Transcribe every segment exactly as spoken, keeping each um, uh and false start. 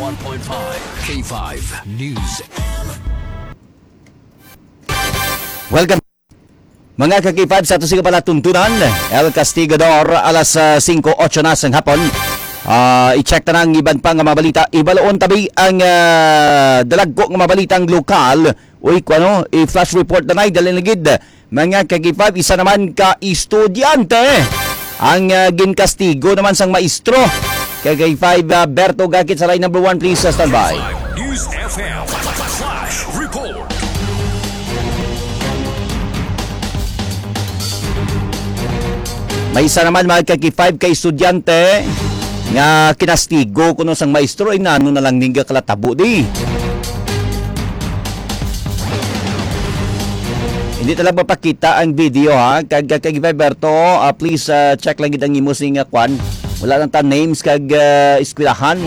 one point five K five News. Welcome, mga ka-K five, sa ato sing palatuntunan. El Castigador, alas, ah, singko otso na sang hapon. Ah, i-check ta na ang iban pa nga mga balita. Ibaloon tabi ang, ah, dalagko nga mga balitang lokal. Uy, kuno, i-flash report na nay, dali na gid. Mga ka-K five, isa naman ka estudyante ang, ah, ginkastigo naman sang maestro. Ka-K five, ah, Berto Gakit sa line number one, please, ah, standby. News F M Flash Report. May isa naman, mga ka-K five, ka estudyante nga kinastigo kuno sang maestro, ay nano na lang ning kalatabo di. Hindi talaga mapakita ang video, ha. Kag, kag, kag Berto, ah, please, ah, check lang gid ang imo sing, ah, kwan. Wala lang ta names kag, ah, eskwelahan.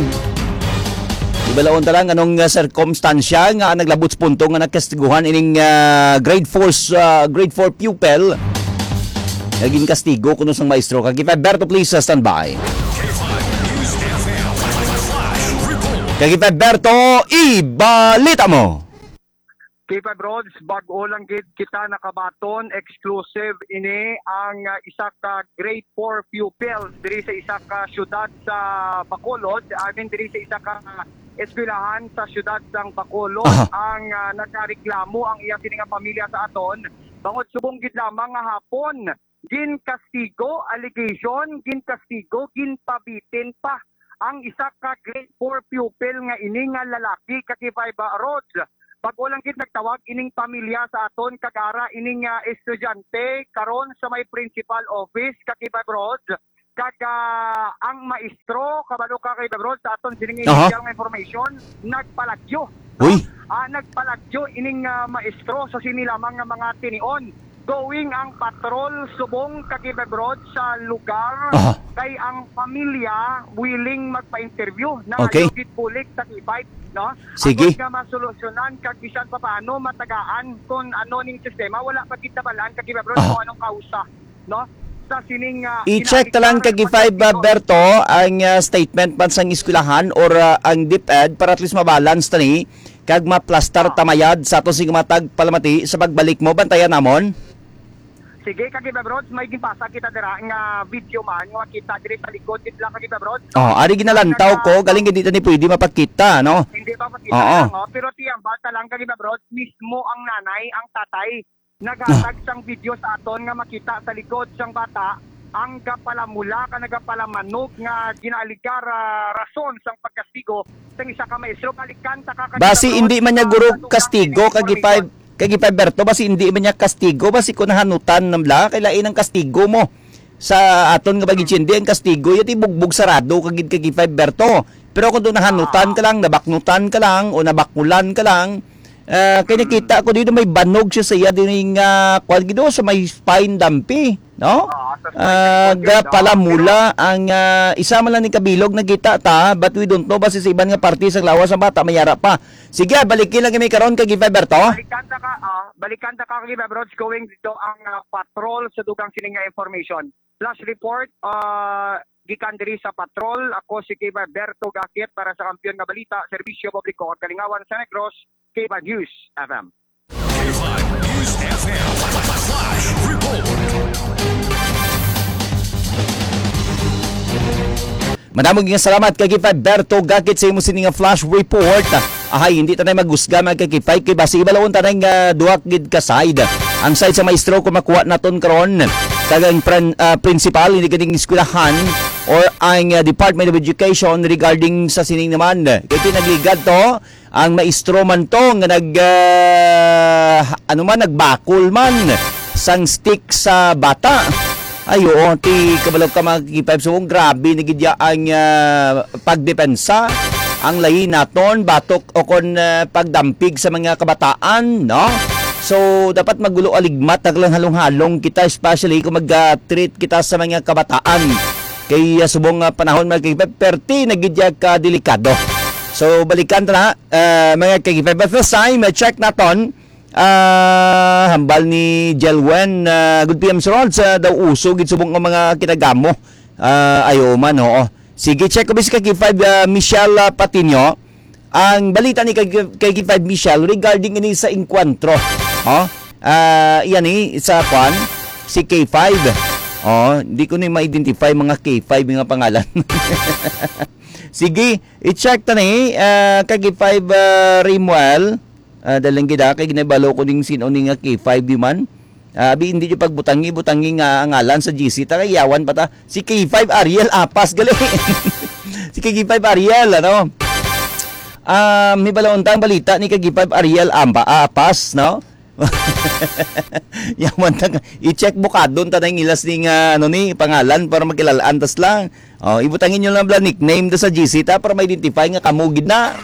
Ibalaon ta lang anong, ah, sirkumstansya nga naglabot sa punto nga nagkastiguhan ining, ah, grade four, ah, grade four pupil nga ginkastigo kuno sang maestro. Kag Berto, please, ah, standby. Kag Berto, ibalita mo. K five Rods, bag-o lang gid kita nakabaton, exclusive ini ang, ah, isa ka grade four pupil diri sa isa ka syudad sa Bacolod, I mean, diri sa isa ka eskwelahan sa syudad sang Bacolod. Aha. Ang, ah, nagareklamo ang iya sini nga pamilya sa aton, bangod subong gid lamang nga hapon ginkastigo, allegation, ginkastigo, ginpabitin pa ang isa ka grade four pupil nga ini nga lalaki, ka-K five Rods. Bag-o lang gid nagtawag ining pamilya sa aton kag ara ining, ah, estudyante karon sa may principal office, ka-K five Rods. Kag, ah, ang maestro, kabalo ka, ka-K five Rods, sa aton sining Aha. initial nga information, nagpalagyo, no? Uy. Ah, nagpalagyo ining, ah, maestro sa sini lamang nga mga tinion. Going ang patrol subong, ka-K five Rods, sa lugar, Aha. kay ang pamilya willing magpa-interview. Okay. Nangayo gid bulig sa K five, no? Sige. Agod nga masolusyonan kag bisan pa paano matagaan kung ano ning sistema, wala pa gid nabalaan, ka-K five Rods, Aha. kung anong kausa, no? Sa sining, ah, I-check ta lang, ka-K five, ah, Berto, ang, ah, statement man sang eskwelahan or, ah, ang DepEd para at least mabalance ta ni kag maplastar Ah. ta mayad sa ato sing matag palamati sa pagbalik mo. Bantayan namon. Sige, ka-K five Rods, may ginpasa kita dira nga video man nga makita diri sa likod gid lang, ka-K five Rods. Oh, ari ginalantaw Ang, ko, ah, galing hindi ta ni pwede mapakita, no? Hindi pa makita Oo. lang, oh. Pero tiyambal ta lang, ka-K five Rods, mismo ang nanay, ang tatay, naghatag Ah. sang video sa aton nga makita sa likod sang bata ang gapalamula ka nagapalamanog nga ginaaligar, ah, rason sang pagkastigo sang isa ka maestro. Balikan ta ka, ka-K five Rods, Basi hindi man niya sa guro kadugang kastigo, ka-K five, information. Ka-K five Berto, basi hindi man niya kastigo, basi kung nahanutan na lang, kay lain ang kastigo mo sa aton nga pag-intindi, ang kastigo, yati bugbog sarado, kagid, ka-K five Berto. Pero kung doon nahanutan Ah. ka lang, nabaknutan ka lang, o nabakulan ka lang, ah, kay Mm. nakita ko dito may banog siya sa iya, din nga, kwan, gido, sa may spine dampi, no? Ah, sa spine Ah, dampi, ga no? pala Pero mula ang, ah, isa man lang ni kabilog nakita ta, but we don't know basi sa iban nga parte sa lawas ang bata, mayara pa. Sige, balikin lang kami karon, ka-K five Berto. Balikan ta ka, ah, balikan ta ka, ka-K five Rods, going dito ang, ah, patrol sa dugang sining nga information. Flash report, ah, gikan diri sa patrol. Ako si K five Berto Gakit para sa Kampiyon nga Balita, Serbisyo Publiko, Kalingawan sa Negros, K five News F M. K five News F M Flash Report. Madamo nga salamat, ka-K five Berto Gakit, sa imo sini nga flash report. Ahay, hindi tanay maghusga, mga ka-K five, kay basi ibalaon tanay nga duha gid ka side. Ang side sa maestro kung makuha naton karon, kag ang pran-, ah, principal, hindi kaning eskwelahan or ang, ah, Department of Education regarding sa sining naman. Kay pinagligad to, ang maestro man to nga nag, ah, ano man, nagbakol man sang stick sa bata. Ay, oo, ti kabalo ka, mga ka-K five. So, grabe na gid ya ang, ah, pagdepensa. Ang lahi naton, batok o kon, ah, pagdampig sa mga kabataan, no? So, dapat magulo aligmat, naglang halong-halong kita, especially kung mag-, ah, treat kita sa mga kabataan. Kay, ah, subong nga panahon, mga ka-K five, perti na gid ya ka delikado. So, balikan ta na, ah, mga ka-K five. But first time, ah, check naton, ah, hambal ni Jelwen, ah, good P M, Sir Rod, sa daw uso gid subong nga mga kinagamo. Ah, ayo man, oo. Sige, check ko, bis ka-K five, ah, Michelle, ah, Patino. ang balita ni kay, kay K five Michelle regarding ini sa engkwentro. Oh, ah, yan eh, sa kwan, si K five. Oh, hindi ko na ma-identify mga K five nga pangalan. Sige, i-check ta ni, ah, kay K five, ah, Rimuel. Ah, daling gid, ah, kay ginabalo ko ning sino ni nga K five di man. Ah, abi, hindi yung pagbutangi, butangi nga ang ngalan sa G C. Ta, yawan pa ta. Si K five Ariel Apas, gali. Si K five Ariel, ano? Ah, may balaon tang balita ni K five Ariel Amba, Apas, no? Yawan ta, i-check bukadon ta na yung ilas ni nga, ano ni, pangalan para makilalaan tas lang. Oh, ibutangi nyo lang bala nickname da sa G C ta para ma-identify nga kamo gid na.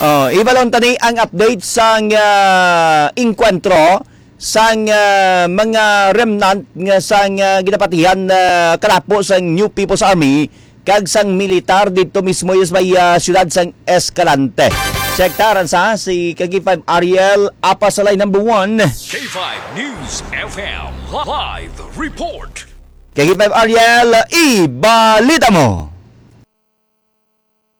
Oh, ibalon tani ang update sang, ah, engkwentro sang, ah, mga remnant nga sang, ah, ginapatihan, ah, kalapo sang New People's Army kag sang militar didto mismo sa may, ah, siyudad sang Escalante. Check ta, Ransa, si K five Ariel Apasalay number one. K five News F M live report. K five Ariel, ibalita mo.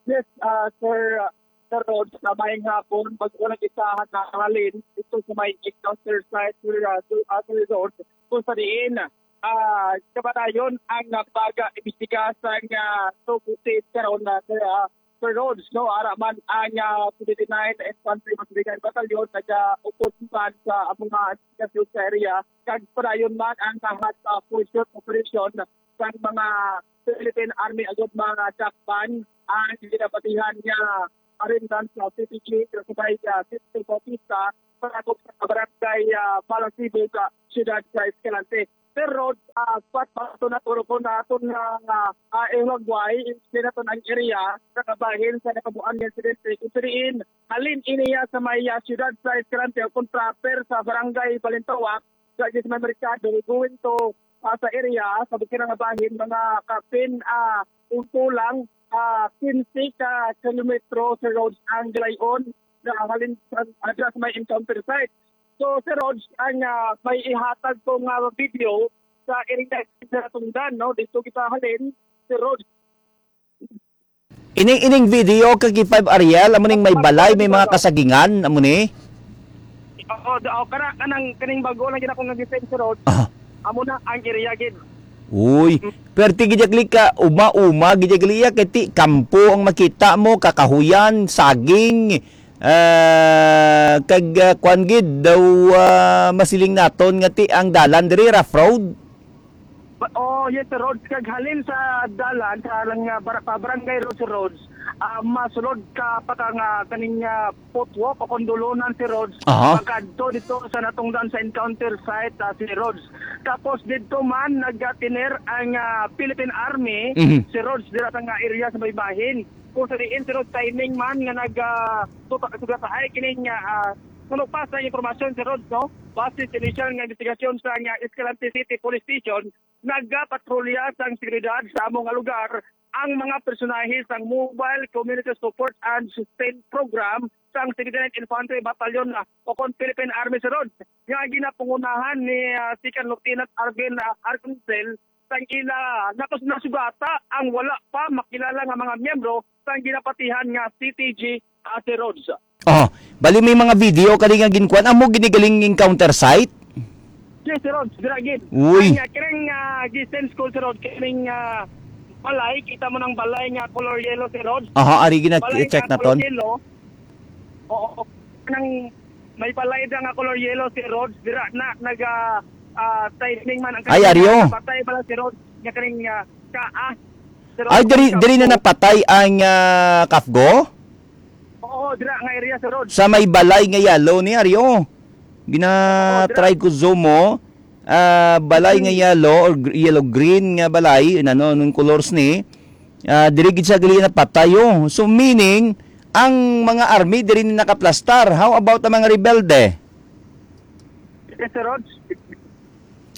Yes, ah, Sir, ah, Sir Rod, sa may hapon, bago lang kita nakalin, ito sa may encounter site, Sir, ah, Sir, ah, Sir Rod, kung sa diin, ah, kapatayon ang, ah, pag-imbestiga sa, ah, sukutis karon na, Sir, ah, Sir Rhodes, no, ara man ang, ah, seventy-nine Infantry Masiligan Battalion nagaupod man sa mga investigasyon sa area, kag padayon man ang, ah, hot, ah, pursuit operation sang mga Philippine Army agud mga dakpan ang ginapatihan nga arindan sa C P G, kasubay, ah, City Bautista, sa barangay, ah, Malasibo sa siyudad sa Escalante. Sir Rod, ah, pat bato na turo ko na aton nga, nga, ah, ihulagway, explain naton ang area sa kabahin sa nakabuan nga insidente. Kung sa diin, halin iniya sa may, ah, siyudad sa Escalante o kontraper sa barangay Balintawak, sa, sa may merkado, going to, ah, sa area, sa bukid nga bahin, mga kapin, ah, unto lang, ah, quince ka kilometro, Sir Rod, ang galayon na halin sa, ah, sa may encounter site. So, Sir Rod, ang, ah, may ihatag ko nga video sa area sa Tundan, no? Dito kita halin, Sir Rod. Ining, ining video, Kaki Five Ariel, amo ning may balay, may mga kasagingan, amo ni? Oo, do, oh, kana, kanang, kaning bago lang gid ako nga gi-send, Sir Rod. Ah. Amo na ang area gid. Uy, Mm. perti gid ka, uma-uma gid iya, kay ti kampo ang makita mo, kakahuyan, saging, ah, kag, ah, kwan gid daw, ah, masiling naton nga ti ang dalan diri rough road. Ba-, oh, yes, Sir Rod. Kag halin sa dalan, sa lang, ah, bar-, pa Barangay Road, Sir Rod, ah, masulod ka pa ka nga kaning, ah, footwalk o kondolonan, Sir Rod, Aha. pagkadto dito sa natungdan sa encounter site, ah, Sir Rod. Tapos dito man, nagtiner ang, ah, Philippine Army, Mhm. Sir Rod, dira sa nga area sa may bahin. Kung sa diin, Sir Rod, timing man nga nag, ah, tuta-, sugataay kining, ah, ah, Ano pa sa impormasyon, Sir Rod, no? Base sa inisyal nga investigasyon sa nga Escalante City Police Station, nagapatrolya sang seguridad sa amo nga lugar ang mga personahe sang Mobile Community Support and Sustain Program sang seventy-ninth Infantry Battalion, ah, o kon Philippine Army, Sir Rod, nga ginapangunahan ni, ah, Second Lieutenant Arvin, ah, Arcangel sang ila nakus-, nasugata ang wala pa makilala nga mga miyembro sang ginapatihan nga C T G, ah, Sir Rod. Oh, bali may mga video kani nga ginkuan. Amo gini galing encounter site? Yes, Sir Rod, dira gid. Uy. Ang, ah, kining, ah, gi-send ko, Sir Rod, kining, ah, balay, kita mo ng balay nga color yellow, Sir Rod. Aha, ari gina-, Balay i-check nga na color ton. yellow. Oo, nang may balay da nga color yellow, Sir Rod, dira na naga, ah, timing man ang Ay, kanina, aryo. Patay pala, Sir Rod, nga kaning, ah, ka, ah, Sir Rod, Ay, diri, ang diri na kampo. napatay ang, ah, Kafgo? Oo, dira nga area, Sir Rod. Sa may balay nga yellow ni Aryo. Gina-, Oo, dira. try ko zoom mo. Ah, balay nga Hmm. yellow or gr-, yellow green nga balay, ano, anong colors ni? Ah, diri gid siya gali napatay, oh. So, meaning, ang mga army diri ni nakaplastar. How about ang mga rebelde? Yes, Sir Rod.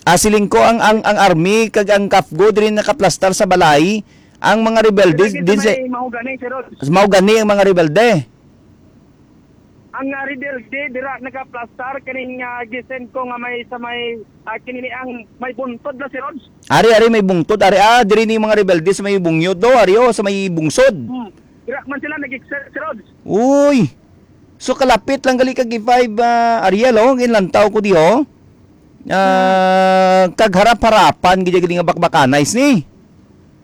Ah, siling ko ang, ang, ang army kag ang Kafgo diri nakaplastar sa balay. Ang mga rebelde Sir, dito din sa sa may Mahogany, Sir Rod. Mahogany ang mga rebelde. Ang, ah, rebelde dira nagaplastar kining, ah, gisend ko nga may sa may, ah, kinini ang may buntod na si Rods. Ari, ari, may bungtod. Ari, ah, diri ni mga rebelde sa may bungyo do, ari, oh, sa may bungsod. Hmm. Dira man sila nag-exert si Rods. Uy! So, kalapit lang gali kag K five, ah, Ariel, oh, ginlantaw ko di, oh. Ah, kag harap-harapan gid gali nga bakbakanay ni.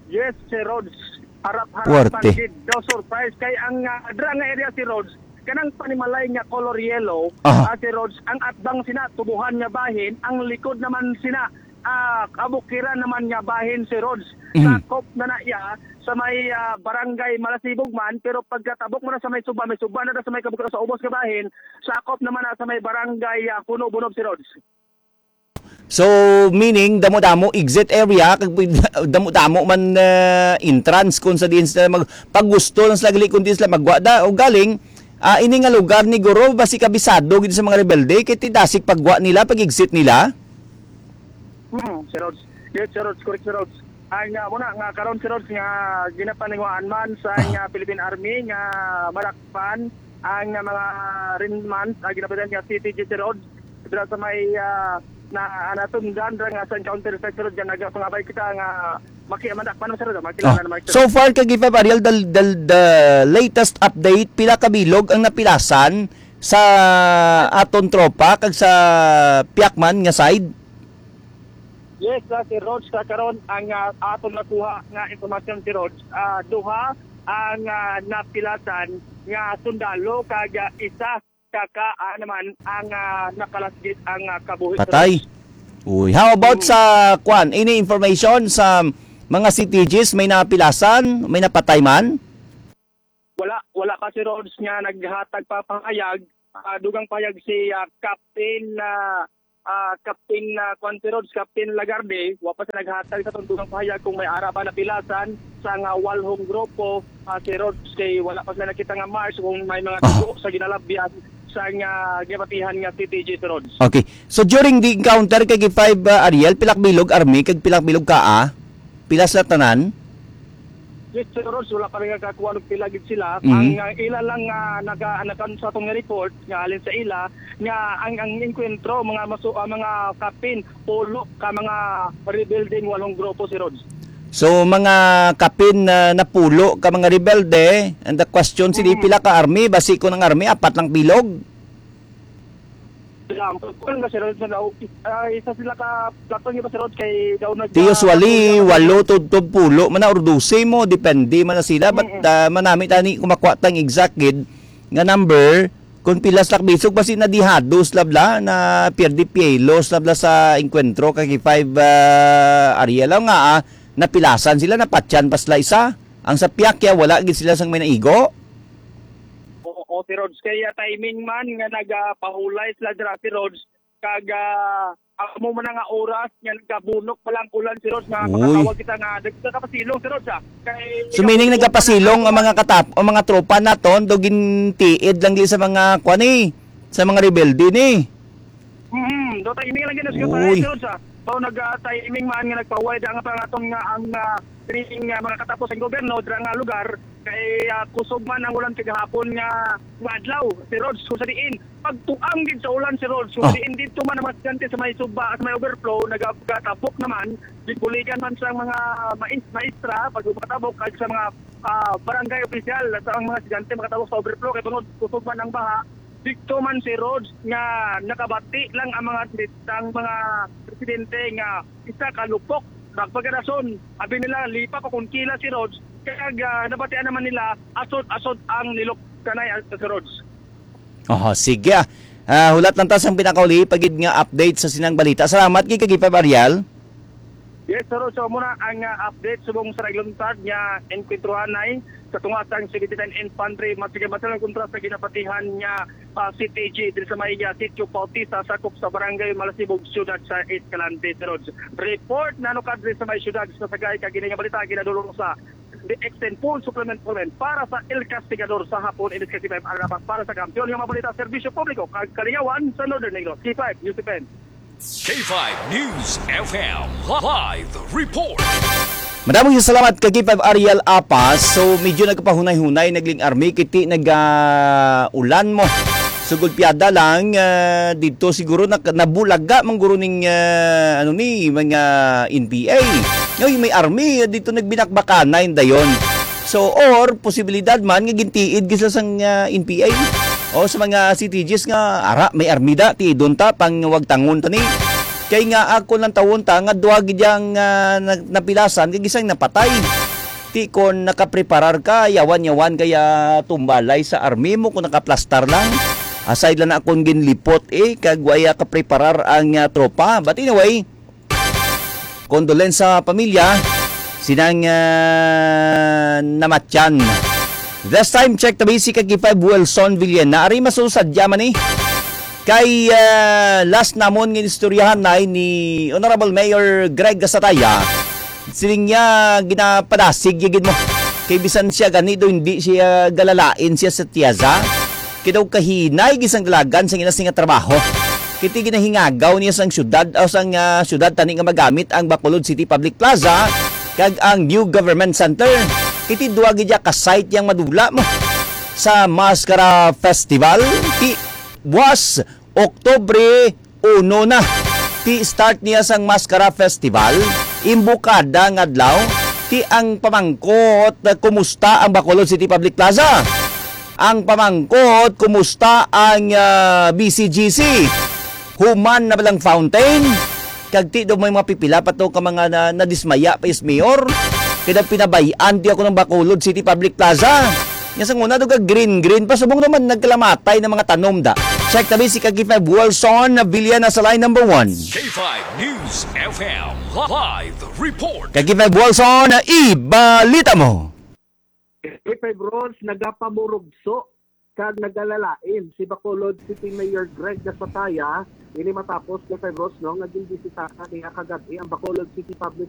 Yes, si Rods. Harap-harapan Puwerte. Gid daw, surprise kay ang, ah, dira nga area si Rods, kanang panimalay nga color yellow, Aha. ah, si Rods, ang atbang sina tubuhan nga bahin, ang likod naman sina, ah, kabukiran naman nga bahin si Rods. Mhm. Sakop na na iya sa may, ah, barangay Malasibog man, pero pagkatabok mo na sa may suba, may suba na na sa may kabukiran sa ubos nga bahin, sakop naman na sa may barangay, ah, Puno Bunob si Rods. So, meaning, damo-damo exit area, kag pwede, damo-damo man, ah, entrance kung sa diin sila mag-, pag gusto lang sila gali, kung di sila magwa da, o galing, ah, ini nga lugar ni Guro, basi kabisado gid sa mga rebelde, kay tidasig pagwa nila, pag-exit nila. Hmm, Sir Rods. Yes, Sir Rods, correct, Sir Rods. Ang, ah, muna nga karon, Sir Rods, nga ginapaninguhaan man sa, Ah. nga Philippine Army nga malakpan ang, ah, mga rin man, ah, ginapaninguhaan nga C T G, Sir Rods, dira sa may, ah, na, ah, natundan dira nga sa encounter site, Sir Rods, nga nagapangabay kita nga makiamandak man, Sir Rods, makilala Ah. naman, Sir So Rods. far, kag K five Ariel, the, the, the latest update, pila ka bilog ang napilasan sa aton tropa kag sa Piakman nga side? Yes, ah, Sir Rods, sa karon ang, ah, aton nakuha nga impormasyon, Sir Rods, ah, duha ang, ah, napilasan nga sundalo kag, ah, isa ka, ka, ah, naman ang, ah, nakalasgit ang, ah, kabuhi, Sir Patay. Rods. Uy, how about Mm. sa, kwan, any information sa mga C T Gs, may napilasan, may napatay man? Wala, wala pa si Rods nga naghatag pa pahayag. Ah, dugang pahayag si, ah, Captain, ah, ah, Captain, ah, kwan si Rods, Captain Lagarde, wa pa siya naghatag sa tong dugang pahayag kung may ara ba napilasan sa nga walhong grupo, ah, si Rods, kay wala pa sila nakita nga marks kung may mga Ah. dugo sa ginalabyan sa nga gibatihan nga C T G si Rods. Okay. So during the encounter kay K five, ah, Ariel, pilak bilog army kag pilak bilog ka, ah? Pila sila tanan? Yes, Sir Rods, wala pa rin nakakuha ng pila gid sila. Mhm. Ang, ah, ila lang, ah, naka-, naka-, sa atong report nga halin sa ila nga ang, ang engkwentro, mga masu-, ah, mga kapin, pulo ka mga rebuilding walong grupo, Sir Rods. So, mga kapin na napulo ka mga rebelde, and the question, sila Mhm. pila ka army, basi kung ang army, apat lang bilog? Sila, ang pagkuhan ba, Sir Rods, na, ah, isa sila ka platon, di ba, Sir Rods, kay daw nag-, Ti usually, ah, walo to, to pulo man na, or dose mo, depende man na sila. But, Mm-mm. ah, manami tani kung makuha tang exact gid nga number, kung pila sila bisog, basi na dihados labla, na pierde pielos labla sa engkwentro kay five, ah, Ariel. Aw nga, ah, napilasan sila, napatyan pa sila isa. Ang sa Piakya, wala gid sila sang may naigo. Oo, Sir Rods. Kaya timing man nga nagapahulay sila dira, Sir Rods, kag, ah, amo man nga oras nga nagkabunok pa lang ulan, Sir Rods, nga Uy. makatawag kita nga nagkakapasilong, Sir Rods, ah. Kay So, meaning nagkapasilong ang mga katap-, ang mga tropa naton, do gintiid lang di sa mga kwan, eh, sa mga rebelde, ni. Mm, do timing lang gid, Uy. Sir Rods, ah. So, nag, ah, timing man nga nagpahuway da nga pangaton nga ang, ah, training nga mga katapos ang gobyerno dira nga lugar, kay, ah, kusog man ang ulan kagahapon nga, nga adlaw, Sir Rods, kung sa diin pagtuang gid sa ulan, Sir Rods, kung Ah. sa diin dito man ang mga estudyante sa may suba, sa may overflow, nagatabok naman, gibuligan man sa mga mais-, maestra, pag makatabok, kag sa mga, ah, barangay opisyal, sa ang mga estudyante makatabok sa overflow, kay bangod kusog man ang baha, dito man, Sir Rods, nga nakabati lang ang mga, ang mga residente nga isa ka lupok, nagpagarason, abi nila, lipa pa kung kila, Sir Rods, kaya, ah, nabatian naman nila, asod-asod ang nilok kanay, ah, Sir Rods. Oho, sige, ah. Ah, hulat lang ta sang pinakauli pa gid nga update sa sinang balita. Salamat gid kag Ipa Ariel. Yes, Sir Rods. So, muna ang, ah, update subong sa nagluntad nga enkwentruhanay sa tunga sang seventy-nine Infantry Machine Gun Battalion kontra sa ginapatihan nga ah, C T G diri sa may, ah, Sitio Bautista, sakop sa Barangay Malasibog, Siyudad sa Escalante, Sir Rods. Report nano kadre sa may siyudad sa Sagay, kag ini nga balita ginadulong sa D X N Full Supplement Supplement para sa El Castigador sa hapon, ini si K five Aranapas para sa kampiyon nga mga balita, serbisyo publiko, kag kalingawan sa Northern Negros. K five News Event. K five News F M live report. Madamong salamat kay K five Ariel Apas. So, medyo nagkapahunay-hunay, nagling army, kiti nag, ah, ulan mo. Sugod piyada lang, ah, dito siguro nak-, nabulaga man guro ning, ah, ano ni, mga N P A. Ngay, may army, ah, dito nagbinakbakanay dayon. So, or posibilidad man nga gintiid gid sila sang, ah, N P A o sa mga C T Gs nga, "Ara, may army da, tiidon ta, pang wagtangon ta ni." Kay nga ako lang tawon ta nga duha gid yang, ah, na-, napilasan kay gisang napatay. Ti kon nakapreparar ka, yawan-yawan kaya tumbalay sa army mo kung nakaplastar lang. Aside lang na akong ginlipot eh, kag waya kapreparar ang, ah, tropa. But anyway, condolence sa pamilya, sinang, ah, namatyan. This time, check the basic kag five Wilson Villena. Ari masusadya man eh. Kay, ah, last namon nga istoryahan na ni Honorable Mayor Greg Gasataya. Siling niya, ginapadasig niya gid mo. Kay bisan siya gani do, hindi siya galalain siya sa tiyaza. Kay daw kahinay gisang dalagan sang ila sing nga trabaho. Kiti ginahingagaw niya sang syudad, o sang, ah, syudad tani nga magamit ang Bacolod City Public Plaza kag ang New Government Center. Kiti duwa gid ya ka site yang madula mo sa Mascara Festival. Ti buwas Oktubre uno na. Ti start niya sang Mascara Festival, imbukada nga adlaw, ti ang pamangkot, kumusta ang Bacolod City Public Plaza? Ang pamangkot, kumusta ang, ah, B C G C? Human na ba lang fountain? Kag ti daw may mga pipila pa to ka mga na, nadismaya pa is mayor. Kaya pinabayaan ti ako ng Bacolod City Public Plaza. Nga sa una, daw ka green-green pa. Subong naman, nagkalamatay ng mga tanom da. Check tabi si Kaki five Wilson na Villena sa line number one. K five News F M live report. Kaki five Wilson, ibalita mo. K five Rolls, nagapamurugso kag nagalalain si Bacolod City Mayor Greg Gasataya. Ini matapos, K five Rolls, no, nga ginbisitahan niya kagab-i ang Bacolod City Public